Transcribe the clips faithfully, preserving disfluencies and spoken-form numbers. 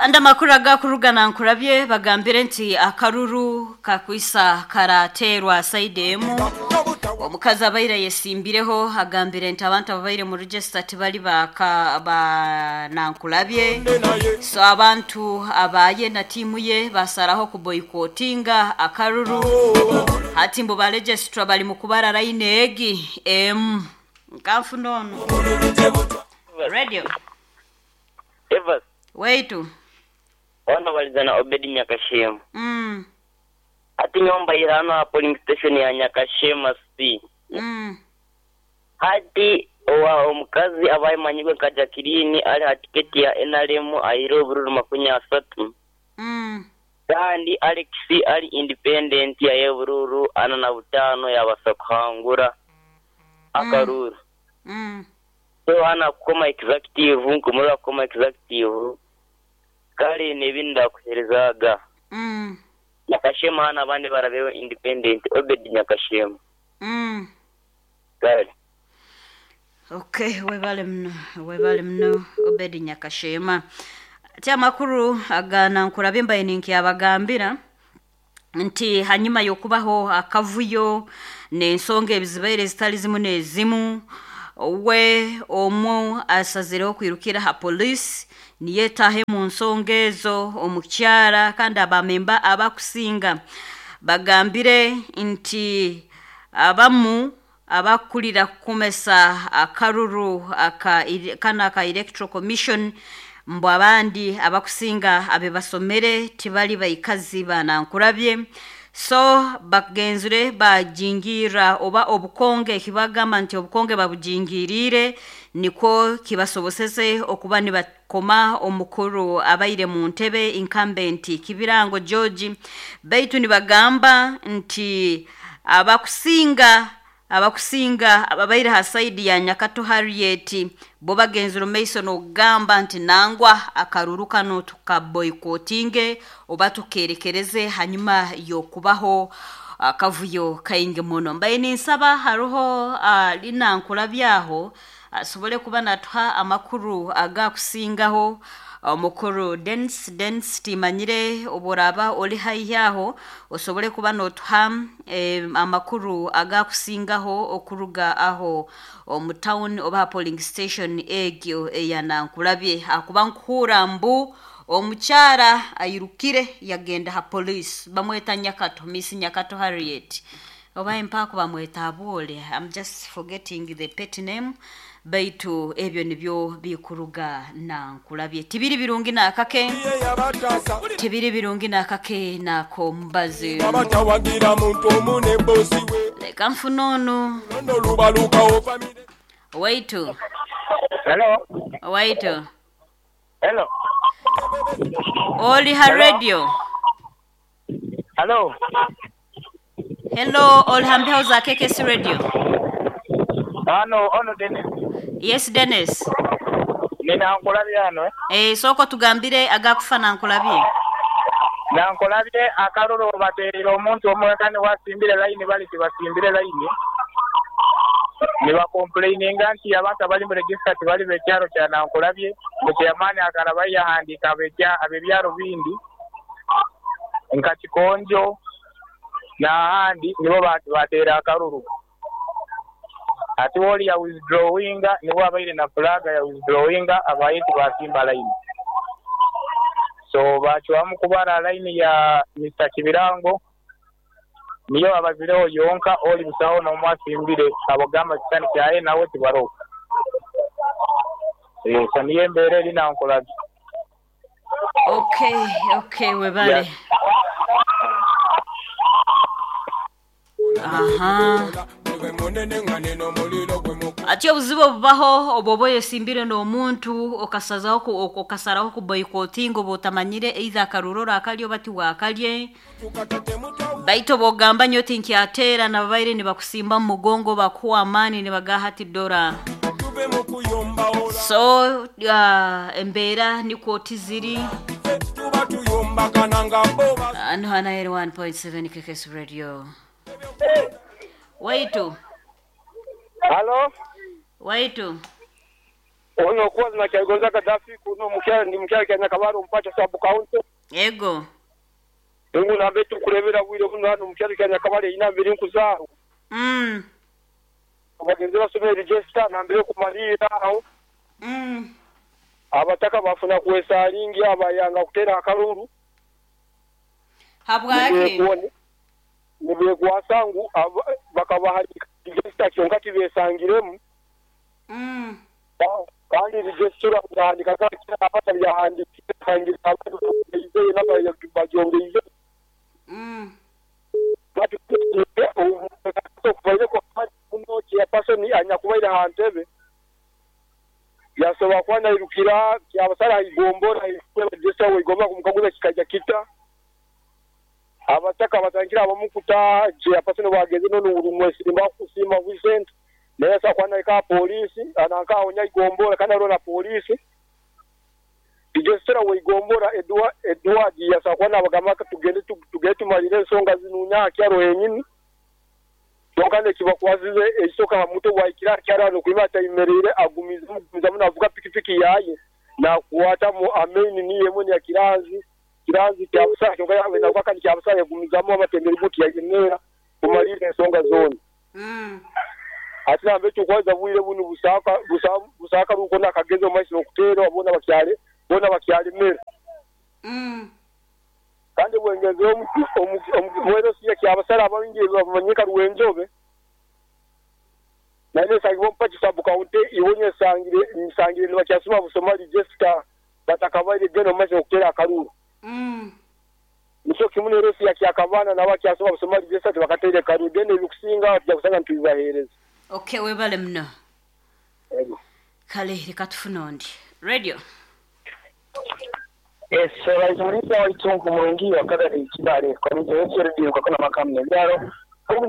Andi amakuru agakurugana nkurabye bagambire nti akaruru kakwisa karaterwa saide emu. Omukazi abaire yesimbireho agambire nti abantu ababaire mu register tibali baka banankulabye, so abantu abaye na tiimu ye basaraho kuboyikotinga akaruru. Hati mbu ba registrar bali mu kubara line egi emu nkanfuna ono radio. Evas. Waitu. Ono balizana Obedi Nyakashema. Mm. Ati nyomba irano ha polling station ya Nyakashema C. Mm. Hati owa omukazi abaye manyigwe nka Jacqueline ali ha tiketi ya N R M ayire obururu makumi asatu. Mm. Kandi Alex ali independent ya yebururu ana na butano yabasa kuhangura akaruru. Mm. So ana kukoma executive nkumura kukoma executive kale nebinda kuherezaga. Mm. Nyakashema hana abandi barabeho independent Obed Nyakashema. Mm. Kale. Okay, webale mno, webale mno Obed Nyakashema. Ati amakuru agana nkurabye mbaye ninkiyabagambira nti hanyuma yokubaho akavuyo n'ensonga ebizibaire zitali zimu n'ezimu, we omu asazireho kwirukira ha police niyetahe mu nsonga ezo omukyara, kandi abamemba abakusinga bagambire nti abamu abakulira kukumesa akaruru aka kana aka Electoral Commission mbu abandi abakusinga abe basomere tibali baikazi banankurabye, so bagenzure bajingira oba obukonge kibagamba nti obukonge babujingirire niko kibasobosese okuba nibakoma omukuru abaire mu ntebe incumbent Kibirango George. Baitu nibagamba nti abakusinga abakusinga ababaire ha side ya Nyakato Harriet bo bagenzero Mason ogamba nti nangwa akaruru kano tukaboykotinge oba tukerekereze hanyuma yokubaho akavuyo kainge muno. Mbaye ninsaba haruho uh, linankulabyaho asobole kuba natuha amakuru agakusingaho omukuru Dens Dens timanyire oboraba oli haihi aho osobole kuba notuha eh, amakuru agakusingaho okuruga aho omu town oba polling station egyo eyanankulabye akuba nkuhura mbu omukyara ayirukire yagenda ha police bamweta Nyakato, Miss Nyakato Harriet oba empako bamweta abole, I'm just forgetting the pet name, baitu ebyo nibyo bikuruga nankulabye tibiri birungi nakake tibiri birungi nakake nako mbazi leka mfunono waitu. Hello. Waitu. Hello. Oli ha radio. Hello. Hello, oli hambeho za K K C radio. Ano, ono Dennis. Yes, Dennis. Nina nkulabye ano eh? Eh, soko tugambire agakufana nkulabye. Na nkulabye akaruru baterera omuntu omwekani wasimbire line bali tibasimbire line. Ni ba complaininga nti abantu abali mu register tibali bekyaro kya nankulabye, mu chairman akaraba yahandika abekya abebyaro bindi nka Kikonjo n'ahandi nibo batera akaruru. Ati woli ya withdrawinga nibo abaire na flag ya withdrawinga abaye tibasimba line. So bachwamu kubara line ya Mister Kibirango niyo abazireho yonka oli busaho no mwasimbire abagamba kitani kyaye nawe tibaro. Eh saniye mbere lina nkolabi. Okay, okay webale. Yeah. Aha. Ati obuzibu bubaho obobo yesimbire n'omuntu okasazaho okasaraho ku boycotting obotamanyire either akarurora akalyo bati wakalye baito bogamba nyo tinki atera na babaire nibakusimba mu mugongo bakuwa amani nibagaha dora. So uh, embeera niko tiziri ano hana one point seven K K S Radio. Waitu. Hello. Waitu. Ono kuwa na kyagonza Gaddafi kuno mukyala ndi mukyala kya Nyakabaro mpacha sub county. Ego. Ngu nambe tukurebera bwire buno hano mukyala kya Nyakabaro ina mbiri nkuzaaro. Mm. Abagenzi basomera register nambere kumalira aho. Mm. Abataka bafuna kuwesalingi abayanga kutera akalulu. Habwaki? Nibe kwasangu bakabaha register kyonka tibesangiremu. Mm. Kandi register kuandika kila apata byahandikira sangira abantu izeye naba bagyongeize. Mm. Bati okuvaire ko muno kya person anyakubaire hantebe yasoba kwana irukira kyabasara igombora register we igomba kumukaguza kikaja kita abataka batangira abamukuta kya person bageze none urumwe simba kusima Vincent nesa kwana ka polisi ananka onya igombora kana rona polisi register we igombora Edward Edward yasa kwana abagamba tugende tugende tumalire ensonga zinunya kyaro yenyini Tokane kibakwazize ekisoka muto waikira kyaro no kuima tayimerere agumiza mugumiza munavuga pikipiki yaye na kuwata mu ameni ni yemwe ya kiranzi kiranzi kya busa kyonka yawe na kwaka kya busa yagumizamo abatembere buti yayenera kumalire ensonga zone. Mm. Ati nambe tukwaza bwire bunu busaka busaka busaka ruko nakagezo maisi okutero abona bakyale bona bakyale mere. Mm. Kandi bwengeze omuwero siya kyabasara abingi bamanyika ruwenjobe nane sangibo mpachi sub county iwonye sangire nsangire nibakyasuma busoma register batakabaire geno maisi okutera akaruru. Mm. Nico kimune resi ya kyakabana nabakyasoma busoma register bakatere karuru geno ebikusinga tujja ntubibahereza. Okay, webale mno. Ego. Kale reka tufune ondi. Radio. Yes, baizumulisa waitunku murungi wakadari kibale komite yetu kwa kuna makamne byaro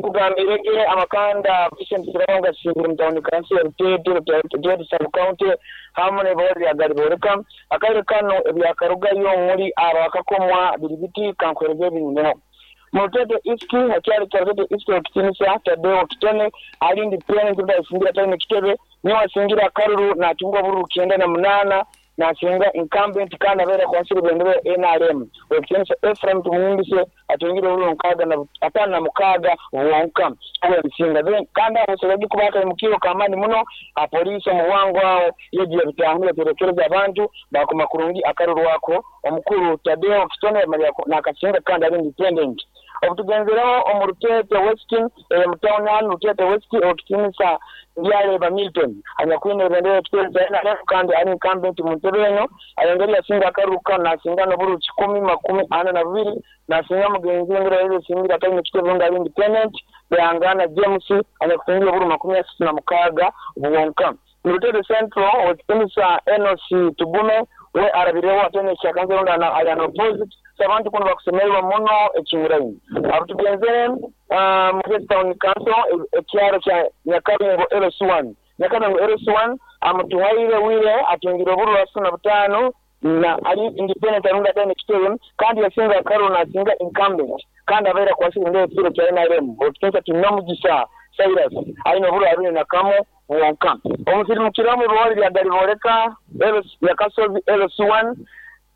kugambirege amakanda Vincent Sirabanga singiri mtawuni kansi ya Rutete Rutete sub county hamwe n'ebori ya Gariboreka akarere kano ebyakarugayo muri abakakomwa biribiti kankwerege binyuneho mu Rutete East hakyali kya Rutete East okitinisa Tadeo Kitone ali independent ndasingira tayine kitebe niwe asingira karuru natungwa bururu kenda na munana nasinga incumbent kana bera kwansiri bendere N R M okitinisa Ephraim Tumwingise atungire bururu nkaga na atana na mukaga wonka awe msinga then kanda asobola kubaka mukiro kamani muno apolisi omuwango awo yegiye bitangire terekereza abantu bakoma kurungi akaruru wako omukuru Tadeo Kitone Maria nakasinga kandi ari independent obutugenzeraho omu Rutete West eh, mu town hall Rutete West okitinisa Ndiareba Milton anyakwine bendera kiteza N R M kandi ari incumbent mu ntebe eno ayongera yasinga akaruka nasinga n'oburu kikumi makumi ana na bubiri nasinga mugenzi we ngera yasingira atari kitebe nga ari independent Bihangana James anyakusingira oburu makumi asatu na mukaga bwonka mu Rutete Central okitinisa N O C Tugume we arabireho atene kyakanze ronda ali an opposite abantu kuno bakusemererwa muno ekinguraini abutugenzere mu uh, town council ekyaro kya Nyakabingo L C one Nyakabingo L C one amutuhaire wire atungira oburu asuna butano na ali independent arunda tene kitebe kandi yasinga karo na singa incumbent kandi abaira kwasira ndeye kiro kya N R M okitinsa tunomugisa Cyrus alina oburu abiri na kamo wonka omusirimu bwali bya Gariboreka ya Kasozi L C one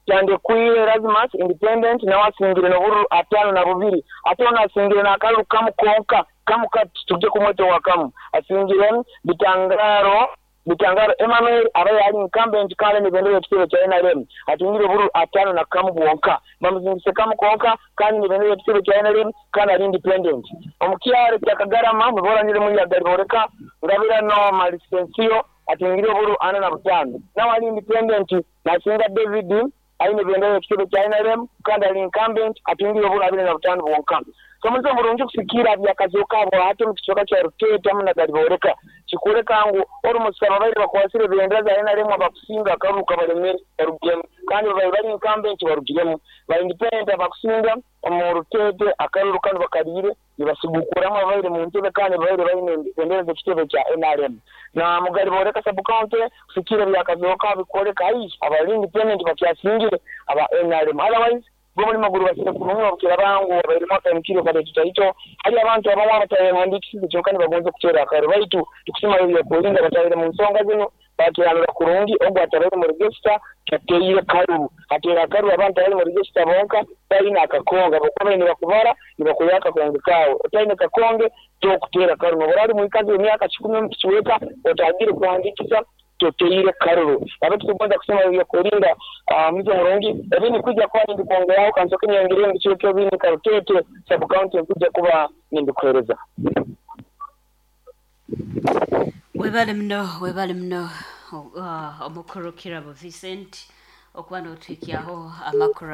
Kyande kuire Erasmus independent na wasingire no buru atano na bubiri atona asingire na akaru kamu konka kamu tuje kumweto wakamu asingire bitangaro bitangaro Emmanuel abaye ali incumbent kale ni bendera kitebe kya N R M atungire buru atano na kamu bonka bamuzingise kamu konka kandi ni bendera kitebe kya N R M kandi ali independent omukyaro kya Kagarama muboranyire muri ya Gariboreka ngabira no malisensio atungire buru ana na butano na wali independent nasinga David aine bendera kitebe kya N R M kandi ali incumbent atungire buru abiri na butano bonka so mulizo mulungi kusikira byakazoka bwa hati mu kicoka kya Rutete hamwe na Gariboreka kikureka ngu orumusaba baire bakwasire bendera za N R M abakusinga akaruka balemere barugiremu kandi babaire bari incumbent barugiremu ba independent abakusinga omu Rutete akaruru kano bakalire nibasigukuramu abaire mu ntebe kandi baire baine bendera z'ekitebe kya N R M na mu Gariboreka sub county kusikira byakazoka bikoreka ayi abali independent bakyasingire aba N R M otherwise Gomulimo gurubasire kurungi obukira bangu abairimu akaimukiro kaleetutaito hali abantu abamu abatayehandikisize kyonka nibagonza okuteera akaruru baitu tukusima ebyokulinda batahire mu nsonga zino bakiranura kurungi ogwo atabaire mu register tateire karuru ateera akaruru abantu abali mu register bonka balina akakonge abakuba baine bakubara nibakuya akakonge kaawe otaine kakonge tokuteera karuru nobora ali mwikazi w'emyaka kikumi omu kicweka otagire kuhandikisa toteire karuru abo tukugonza kusema ebyokulinda mwizo murungi ebindi kwijja kuba nindikwongeraho kansoke nyongere mu ebindi Karutete sub county nkujja kuba nindikuhereza. Webale muno, webale muno, uh, omukuru Kirabo Vincent okuba n'otwikyaho amakuru.